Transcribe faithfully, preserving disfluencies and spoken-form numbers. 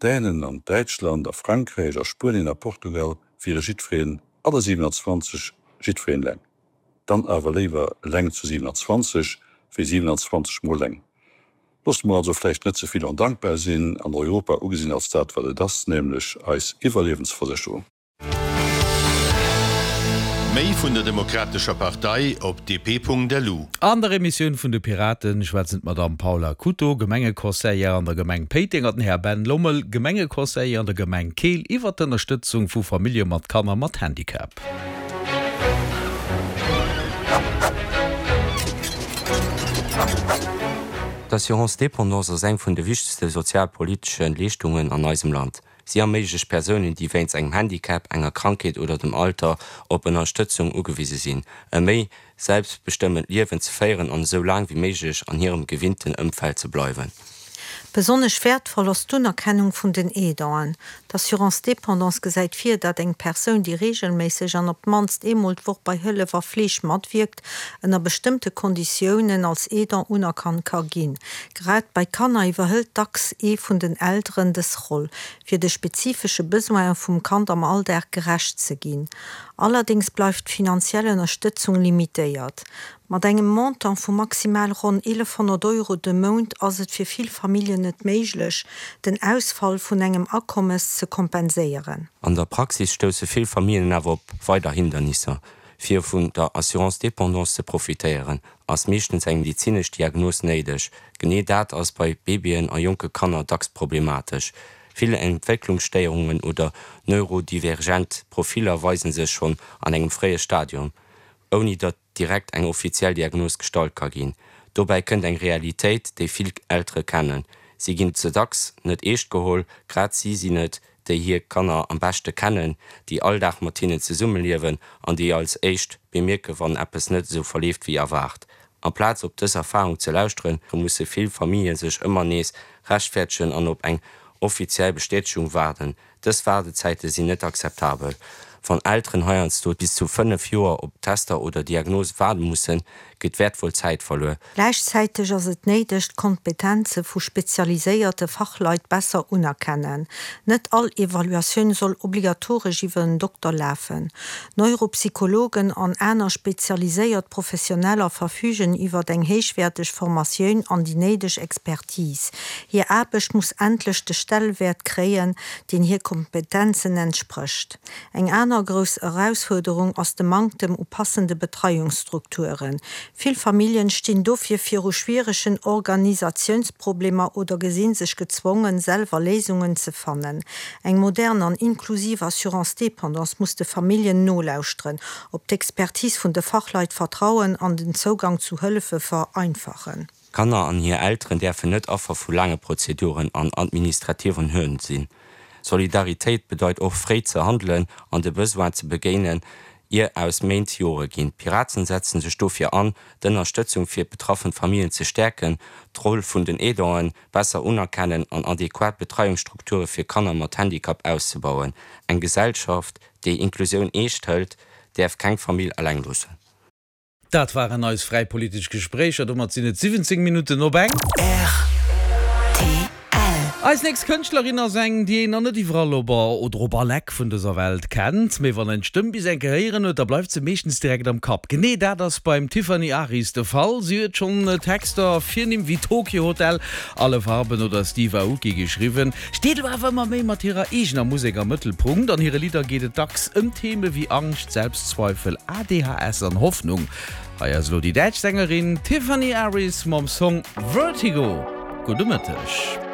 Dänen an Däitschland a Frankräich a Spuenien a Portugal wiere jiddwereen, alle siewenanzwanzeg, jiddwereen eleng. Dann awer léiwer eleng zu siewenanzwanzeg wéi siewenanzwanzeg mol eleng. Loosse mer also vläicht net ze vill ondankbar sinn an Europa ugesinn als dat, wat et ass, nämlech eis Iwwerliewensversécherung. Méi vun der Demokratescher Partei op dp.lu. An der Emissioun vun de Piraten schwätzen d'Madamm Paula Couto, Gemengeconseillère an der Gemeng Péiteng an den Här Ben Lommel, Gemengeconseiller an der Gemeng Keel iwwer d'Ënnerstëtzung vu Famillje mat Kanner mat Handicap. D'Assurance dépendance ass eng vun de wichtegste sozialpolitesche Leeschtungen an eisem Land. Si erméiglecht Persounen, déi wéinst engem Handicap, enger Krankheet oder dem Alter op Ënnerstëtzung ugewise sinn, e méi selbstbestëmmtent Liewen ze féieren an esou laang wéi méiglech an hirem gewinnten Ëmfeld ze bleiwen. Besonnesch wäertvoll ass d'Unerkennung vun den Aidanten. D'Assurance dépendance gesäit vir, datt eng Persoun, déi reegelméisseg an op d'mannst eemol d'Woch bei Hëllef a Fleeg matwierkt, ënner bestëmmte Konditiounen als Aidant unerkannt ka ginn. Grad bei Kanner iwwerhëlt dacks ee vun den Elteren dës Roll, fir de spezifesche Besoine vum Kand am Alldag gerecht ze ginn. Allerdéngs bleift d'finanziell Ënnerstëtzung limitéiert. Mat engem Montant vu maximal ronn eelefhonnert Euro de Mount ass et fir vill Familljen net méiglech, den Ausfall vun engem Akommes ze kompenséieren. An der Praxis stousse vill Familljen awer op weider Hindernisser. Fir vun der Assurance dépendance ze profitéieren, ass meeschtens eng medezinesch Diagnos néideg. Genee dat ass bei Babyen a jonke Kanner dacks problematesch. Vill Entwécklungsstéierungen oder neurodivergent Profiller weise sech schonn an engem fréie Stadium, ouni datt direkt eng offiziell Diagnos gestallt ka ginn. Dobäi kënnt eng Realitéit, déi vill Eltere kennen, Si ginn ze dacks net eescht geholl. Grad si sinn et, déi hir Kanner am beschte kennen, déi all Dag mat hinnen zesummeliewen an déi als éischt bemierken, wann eppes net esou verleeft wéi erwaart. Amplaz op dës Erfarung ze lauschteren, musse vill Famillje sech ëmmer nees rechtfäerdegen an op eng offiziell Bestätegung waarden. Dës Waardezäite sinn net akzeptabel. Wann Elteren heiansdo bis zu fënnef Joer op Tester oder Diagnose waarde mussen, geet wäertvoll Zäit verluer. Gläichzäiteg ass et néideg, d'Kompetenze vu spezialiséierte Fachleit besser unerkennen. Net all Evaluatioun soll obligatoresch iwwer en Dokter lafen. Neuropsychologen an aner spezialiséiert Professioneller verfügen iwwer eng héichwäerteg Formatioun an déi néideg Expertise. Hir Aarbecht muss endlech de Stellewäert kréien, deen hir Kompetenzen entsprécht. Eng aner grouss Erausfuerderung ass de Manktem u passende Betreiungsstrukturen. Vill Familljen stinn dofir viru schwieregen Organisatiounsproblemer oder gesi sech gezwongen, selwer Léisungen ze fannen. Eng modern an inklusiv Assurance dépendance muss de Familljen nolauschteren, op d'Expertise vun de Fachleit vertrauen an den Zougang zu Hëllefe vereinfachen. Kanner an hir Elteren däerfen net Affer vu laange Prozeduren an administrativen Hürden sinn. Solidaritéit bedeit och, fréi ze handelen an de Besoin ze begéinen, ier aus Méint Jore ginn. D'Piraten setzen sech dofir an, d'Ënnerstëtzung fir betraffen Familljen ze stäerken, d'Roll vun den Aidanten besser unerkennen an adequat Betreiungsstrukture fir Kanner mat Handicap auszebauen. Eng Gesellschaft, déi Inklusioun eescht hëlt, däerf keng Famill eleng loossen. Dat waren eis fräi politesch Gespréicher. Domat sinn et siwwenzéng Minutten op eng. Rtl. Eis nächst Kënschtlerin ass eng, déi een nach net iwwerall op oder op all Eck vun dëser Welt kennt. Mee wann een d'Stëmm bis eng Kéier héieren huet, da bleift se meeschtens direkt am Kapp. Genee dat ass beim Tiffany Aris de Fall. Si huet schonn Texter fir Nimm wéi Tokio Hotel, Alle Farben oder Steve Aoki geschriwwen, steet elo awer ëmmer méi mat hirer eegener Musek am Mëttelpunkt. An hire Lidder geet et dacks ëm Theme wéi Angscht, Selbstzweifel, A D H S an Hoffnung. Hei ass elo déi däitsch Sängerin Tiffany Aris mam Song Vertigo. Gudde Mëtteg.